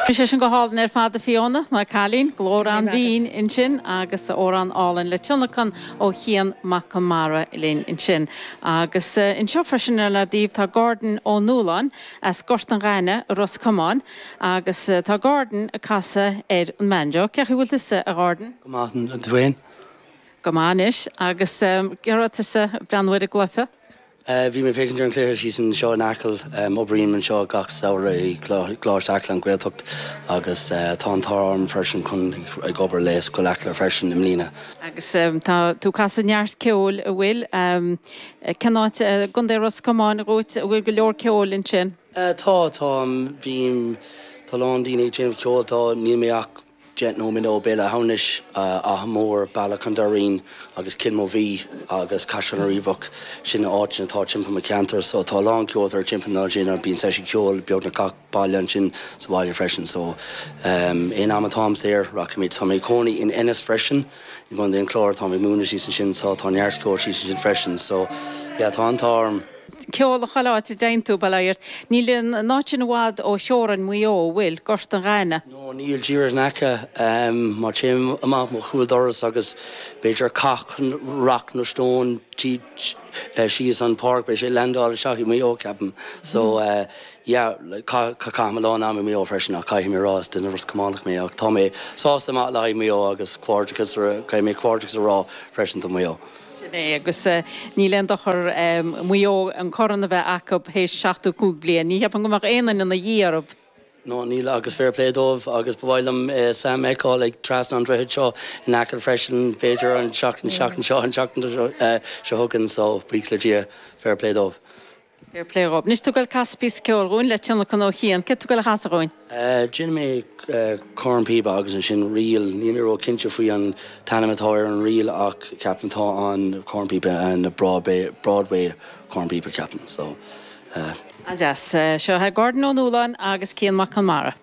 Bhí sé sin go hálainn ar fad a Fiona, mo chailín, glór an-bhinn ansin agus amhrán álainn le tionlacan ó Chian Mac Conmara linn ansin. Agus anseo freisin ar ár dtaobh tá Gordon Ó Nualláin as Gort an Ghainimh i Ros Comáin agus tá Gordon ag casadh ar an mbanjo. Cén chaoi a bhfuil tusa a Ghordon? Go maith, tú féin? Go maith anois. Agus cé raibh tusa ag breathnú ar an gcluiche? Bhí mé ag féachaint ar an chluiche síos anseo in Acaill. Oibrím anseo gach samhradh i gColáiste Acla, an Ghaeltacht, agus tá an t-ádh orm freisin chun ag obair le Scoil Acla freisin i mbliana. Agus tá tú ag casadh neart ceoil, an bhfuil? Cén áit i gContae Ros Comáin dhuit, an bhfuil go leor ceoil ansin? Tá, tá, bím, tá a lán daoine ag déanamh ceoil, tá, níl mé ach 10 nóiméad ó Béal Átha Hamhnais, Áth Mór, Bealach an Doirín agus Cill Mobhí agus Caisleán an Riabhach, sin na áiteanna atá timpeall mo cheantar. So tá a lán ceoltóirí timpeall na áit bíonn seisiún ceoil beagnach gach baile ansin sa bhaile freisin. So aon am atáim saor rachaimid. Tá mé ag cónaí in Ennis freisin i gContae an Chláir, táim ag múineadh síos ansin so tá neart ceoil síos ansin freisin. So yeah tá an t-ádh orm. Ceol chuile áit a dtéann tú, bail ó Dhia ort. Níl an áit sin i bhfad ó theorainn Mhaigh Eo, an bhfuil? Gort an Ghainimh. No, níl, díreach in aice. Má téim amach mo chúl doras agus b'fhéidir caith rock nó stone síos an páirc, beidh sé ag landáil isteach i Maigh Eo, ceapaim. So, yeah, caithim a lán am i Maigh Eo freisin ach caithfidh mé a rá, is duine Ros Cománach mé ach tá mé sásta amach le haghaidh Maigh Eo agus comhghairdeachas, caithfidh mé comhghairdeachas a rá freisin do Mhaigh Eo. Sin é, agus níl aon dochar Maigh Eo an corn a bheith acu théis 75 bliain. Ní cheapaim go mbeadh aon duine ina dhiaidh orthu. No, níl, agus fair play dóibh agus ba mhaith liom Sam a fheiceáil ag trasna an droichid seo in Acaill freisin, b'fhéidir an tseachtain seo, an tseachtain seo chugainn, so buíochas le Dia, fair play dóibh. Fair play dhóibh. Anois tú ag goil casadh píosa ceoil dhúinn le tionlacan ó Chian. Céard tú ag goil a chasadh dhúinn? Déanfaidh mé cornpíopa agus ansin ríl. Níl mé ró-chinnte faoi an t-ainm atá ar an ríl ach ceapaim tá an cornpíopa an Broadway Broadway cornpíopa ceapaim so. An-deas. Seo é Gordon Ó Nualláin agus Cian Mac Conmara.